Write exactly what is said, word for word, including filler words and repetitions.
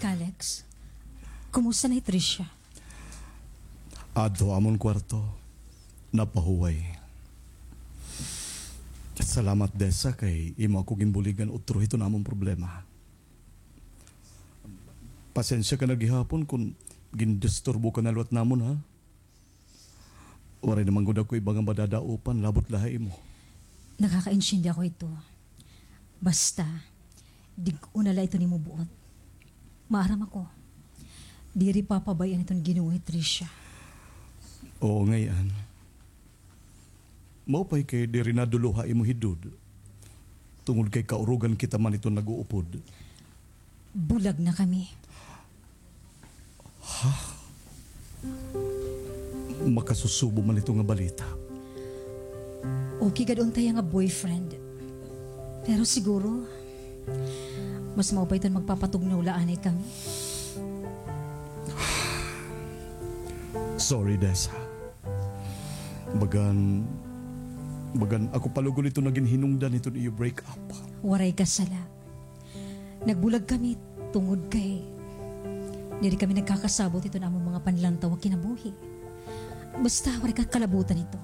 Alex, kumusta na hi Tricia? Adto ha amon kwarto. Napahuway. Salamat, Dessa, kay imo ako ginbuligan utro hiton amon problema. Pasensya ka na gihapon kon gindisturbo ka na liwat namon, ha? Waray naman gud ako iba nga madadaopan, labot la ha imo. Nakakaintindi ako hito. Basta, dig-on na la iton imo buot. Maaram ako. Diri papabay-an hiton Ginoo hi Tricia. Oo, ngay-an. Maupay kay diri nadulo ha imo hidod. Tungod kay kaurugan kita man iton nag-uupod. Bulag na kami. Ha? Makasusubo man ito nga balita. Okay gad unta hiya nga boyfriend. Pero siguro, mas maupay iton magpapatugnaw la anay kami. Sorry, Dessa. Bagan, bagan ako pa lugod ito nga ginhinungdan hiton iyo break up. Waray ka sala. Nagbulag kami tungod kay diri kami nagkakasabot hiton amon mga panlantaw nga kinabuhi. Basta, waray ka kalabutan hito.